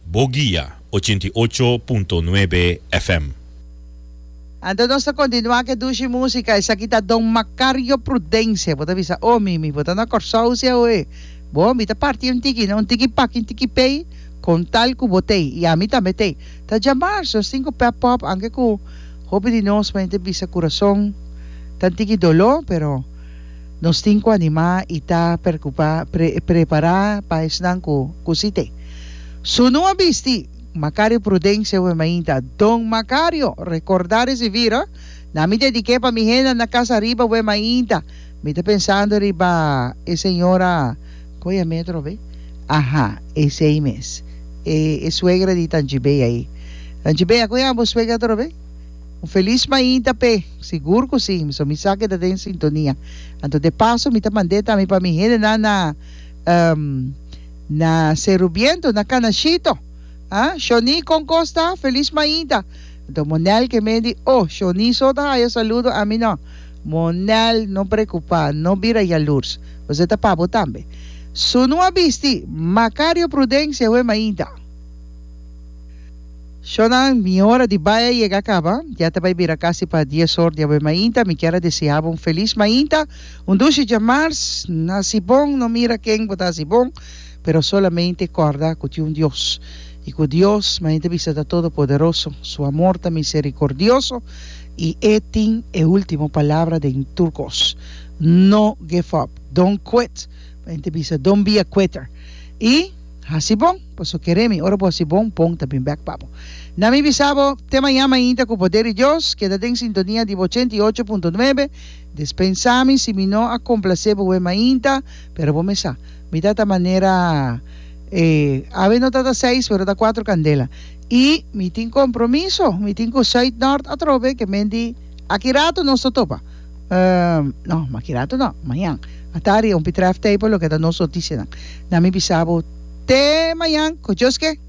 Bo Guia 88.9 FM. Anto nos ta kontinuá ku e dushi músika. Esaki ta Don Macario Prudencia. Bo ta bisa, Oh, Mimi, bo ta na Kòrsou si awe? Bo, mi ta parti un tiki, no? Un tiki paki, un tiki pei, kon tal ku bo t'ei. I ami tambe t'ei. Ta djamars, nos tin ku pep pòp, anke ku hopi di nos manera ta bisa kurason ta un tiki doló, pero nos tin ku animá i ta perkupá, pre, prepará pa esnan ku, ku si t'ei. Sunu a bisti. Macario Prudencia we mainta. Don Macario, recorda recibir oh. Na mi dedique pa mi henda na casa ariba we mainta. Mi ta pensando riba e señora, con yam'e atrobe? Aha, esey mes. E e suegra di Tanchi Bea ey. Tanchi Bea, con yama bo suegra atrobe? Un feliz mainta p'e. Sigur cu si, so mi sa ke ta den sintonia. Anto de paso mi ta mand'e tambe pa mi hendenan na Na Seru Biento, na Canashito. Ah, Shoni con cos ta? Feliz mainta. Anto Monel ke men di, oh, Shoni so ta haya saludo, ami no. Monel, no preocupa, no bira yalurs. Pasobra ta pa bo tambe. Sunu a bisti, Macario Prudencia we mainta. Shonnan, mi ora di bai a yega caba. Ya ta bai bira casi pa dies or di awe mainta. Mi kier a desea bo un feliz mainta. Un dushi djamars, hasi bon, no mira ken bo ta hasi bon, pero solamente kòrda ku tin un Dios, i ku Dios, manera ta bisa, ta todopoderoso, su amor ta miserikordioso, i e tin e último palabra den tur kos. No give up, don't quit, manera ta bisa, don't be a quitter, i hasi bon, pasobra kere mi, ora bo hasi bon, bon ta bin bèk pa bo. Na mi bisa bo, te mañan mainta ku poder di Dios, keda den sintonia di bo 88.9, Despensá mi si mi no a complacé bo we mainta, pero bo me sa. Mi ta ta manera e awe no ta ta seis pero ta cuatro candela. Y mi tin compromiso, mi tin cu Zuid Noord atrobe ke men di aki rato nos ta topa. Ehm, no, aki rato no, mañan. Atari un pitref tei pa loke ta nos noticianan. Na mi bisa bo te mañan, cu Dios ke.